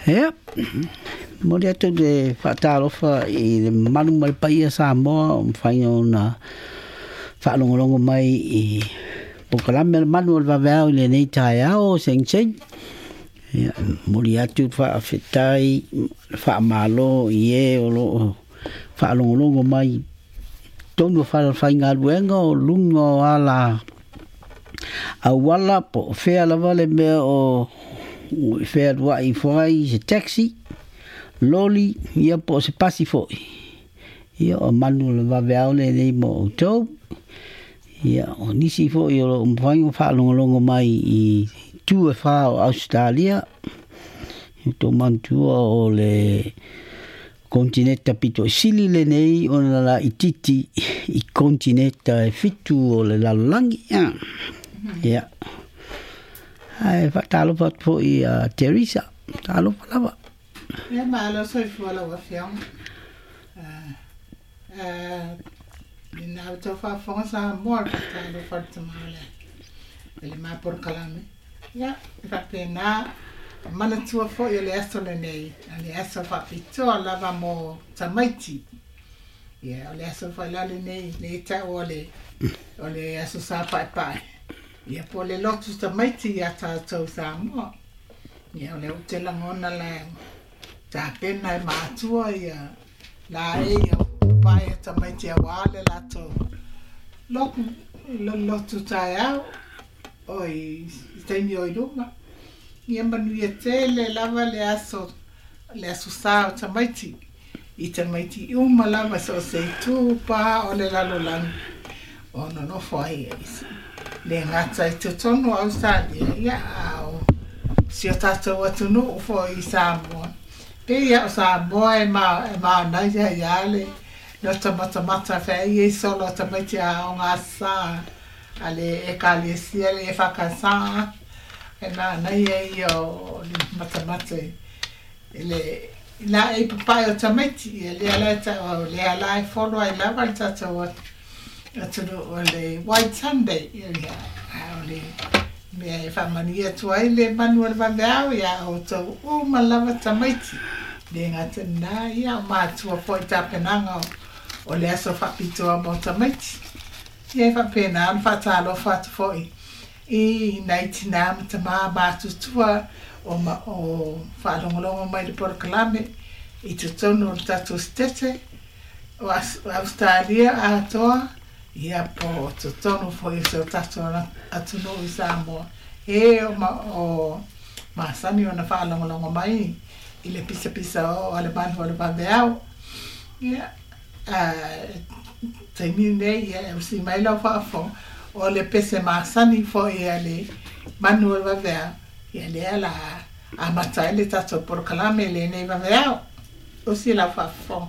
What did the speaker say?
Ia, momoli atu le faatalofa i le mamalu ma le paia Samoa o mafai ona faalogologo mai i polokalame a le Manu o le Vaveao i lenei taeao o segisegi. Ia, momoli atu le faafetai ma le faamalo i e o lo o faalogologo mai i totonu o falefaigaluega o luga o ala auala po o fea lava le mea o fealuai ifo ai se taxi, loli, ia po o se pasi foi. Ia o manu o le vaveao lenei mo outou. Ia o nisi foi o lo o mafai ona faalogologo mai i itu e fā o Ausetalia, i tou manatua o le Kontineta pito i sili lenei ona laititi i kontineta e fitu o le lalolagi. Ia. Ae faatalofa atu foi ia Teresa. Talofa lava. Ia malo soifua lau afioga. Lena ua tau faafofoga Samoa i le faatalofa a le tama o le le ma polokalame. Ia, e faapena, manatua foi o le aso lenei, o le aso faapitoa lava mo tamaiti. Ia, o le aso foi la lenei, lea e tau o le, o le aso Sa Paepae. Ia, po o le lotu tamaiti ia tatou Samoa. Ia, o lea ou te lagona la tapena e matua ia la e ia pae tamaiti aua le latou lotu, lotu taeao o i taimi o i luma. Ia manuia tele lava le aso, le aso sa o tamaiti. I tamaiti uma lava so o se itu pa o le lalolagi o nonofo ai e le gata i totonu o Ausetalia, ia a o si o tatou atunuu foi i Samoa. Pei lava o Samoa e manaia ai lava le loto matamata feaia i solo o tamaiti aoga sa a le Ekalesia le EFKS, e manaia ia o le matamata i le laei papae o tamaiti, ia lea la e tau, lea la e folo ai lava le tatou atunuu o le White Sunday, ia, a o le mea e faamanuia atu ai le manu o le vaveao iā outou uma lava tamaiti. Le gata i lena, ia, o matua foi i tapenaga o le aso faapitoa mo tamaiti. Ia e faapena ona faatalofa atu foi i nai tinā ma tamā matutua o ma o faalogologo mai i le polokalame i totonu o le tatou Setete o Ausetalia atoa, ia po o totonu foi o si o tatou atunuu i Samoa, e o ma o masani ona faalogologo mai i le pisapisa oo a le manu o le vaveao. Ia, taimi lenei, ia e usi mai lau faafofoga, o le pese masani foi a le manu o le vaveao, ia lea la amata ai le tatou polokalame i lenei vaveao. Usi lau faafofoga.